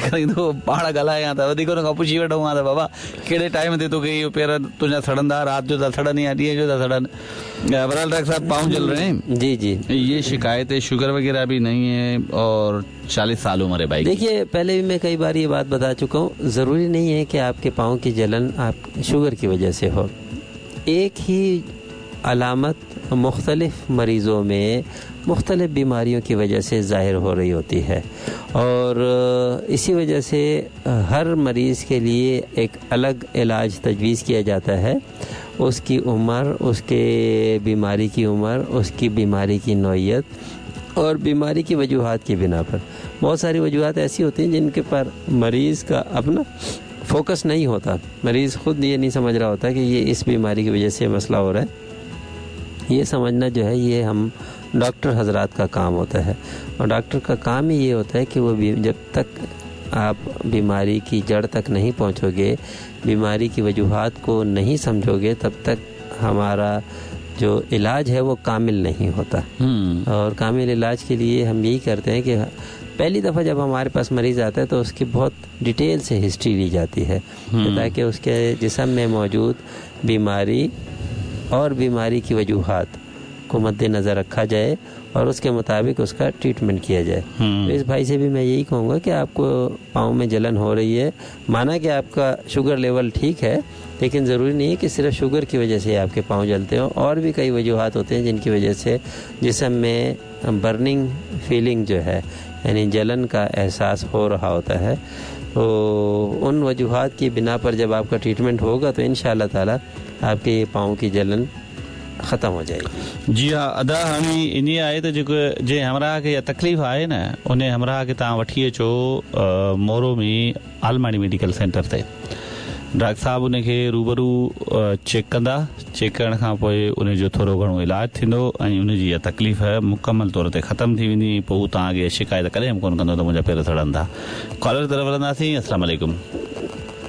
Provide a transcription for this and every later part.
جيڪڏهن تون پاڻ ڳالهائين ها ته وڌيڪ ان کان پڇي وٺون ها ته بابا ڪهڙي ٽائيم تي توکي اهو پير تنهنجا سڙن ٿا رات جو ٿا سڙن يا ڏينهن جو ٿا سڙن بهرحال ڊاڪٽر صاحب پاؤں جل رهي هين جي جي ये शिकायत शुगर वगैरह भी नहीं है और 40 साल उम्र है भाई की। देखिए, पहले भी मैं कई बार ये बात बता चुका हूँ, ज़रूरी नहीं है कि आपके पाँव की जलन आप शुगर की वजह से हो। एक ही अलामत मुख्तलिफ़ मरीज़ों में मुख्तलिफ़ बीमारियों की वजह से ज़ाहिर हो रही होती है और इसी वजह से हर मरीज़ के लिए एक अलग इलाज तजवीज़ किया जाता है। उसकी उम्र, उसके बीमारी की उम्र, उसकी बीमारी की नौइयत और बीमारी की वजूहात की बिना पर बहुत सारी वजूहात ऐसी होती हैं जिनके पर मरीज़ का अपना फोकस नहीं होता। मरीज़ ख़ुद ये नहीं समझ रहा होता कि ये इस बीमारी की वजह से मसला हो रहा है। ये समझना जो है ये हम डॉक्टर हजरात का काम होता है और डॉक्टर का काम ही ये होता है कि वो जब तक आप बीमारी की जड़ तक नहीं पहुँचोगे, बीमारी की वजूहात को नहीं समझोगे, तब तक हमारा जो इलाज है वो कामिल नहीं होता। और कामिल इलाज के लिए हम यही करते हैं कि पहली दफ़ा जब हमारे पास मरीज़ आता है तो उसकी बहुत डिटेल से हिस्ट्री ली जाती है ताकि उसके जिस्म में मौजूद बीमारी और बीमारी की वजूहात को मद्देनज़र रखा जाए और उसके मुताबिक उसका ट्रीटमेंट किया जाए। तो इस भाई से भी मैं यही कहूँगा कि आपको पाँव में जलन हो रही है, माना कि आपका शुगर लेवल ठीक है, लेकिन ज़रूरी नहीं है कि सिर्फ शुगर की वजह से आपके पाँव जलते हों। और भी कई वजूहात होते हैं जिनकी वजह से जिस्म में बर्निंग फीलिंग जो है यानी जलन का एहसास हो रहा होता है। तो उन वजूहात की बिना पर जब आपका ट्रीटमेंट होगा तो इंशाअल्लाह ताला आपके पाँव की जलन ख़त्म हो जाएगी। जी हा अदा, हाणे इन आहे त जेको जंहिं हमराह खे इहा तकलीफ़ आहे न, उन हमराह खे तव्हां वठी अचो मोरो में आलमाणी मेडिकल सेंटर ते। डॉक्टर साहब उनखे रूबरू चेक कंदा, चेक करण खां पोइ उनजो थोरो घणो इलाज थींदो ऐं उनजी इहा तकलीफ़ मुकमल तौर ते ख़तमु थी वेंदी। पोइ हू तव्हांखे शिकायत कॾहिं बि कोन कंदो त मुंहिंजा पेर सड़नि था। कॉलर तरफ़ हलंदासीं। अस्सलाम वालेकुम।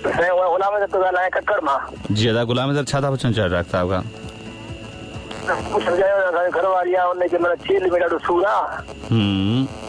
गुलाम थो ॻाल्हायां ककड़ मां। जी अदा गुलाम सर, छा था पुछणु चाहियो डॉक्टर साहब खां? घर वारी आहे, उनखे माना चील में ॾाढो सूर आहे।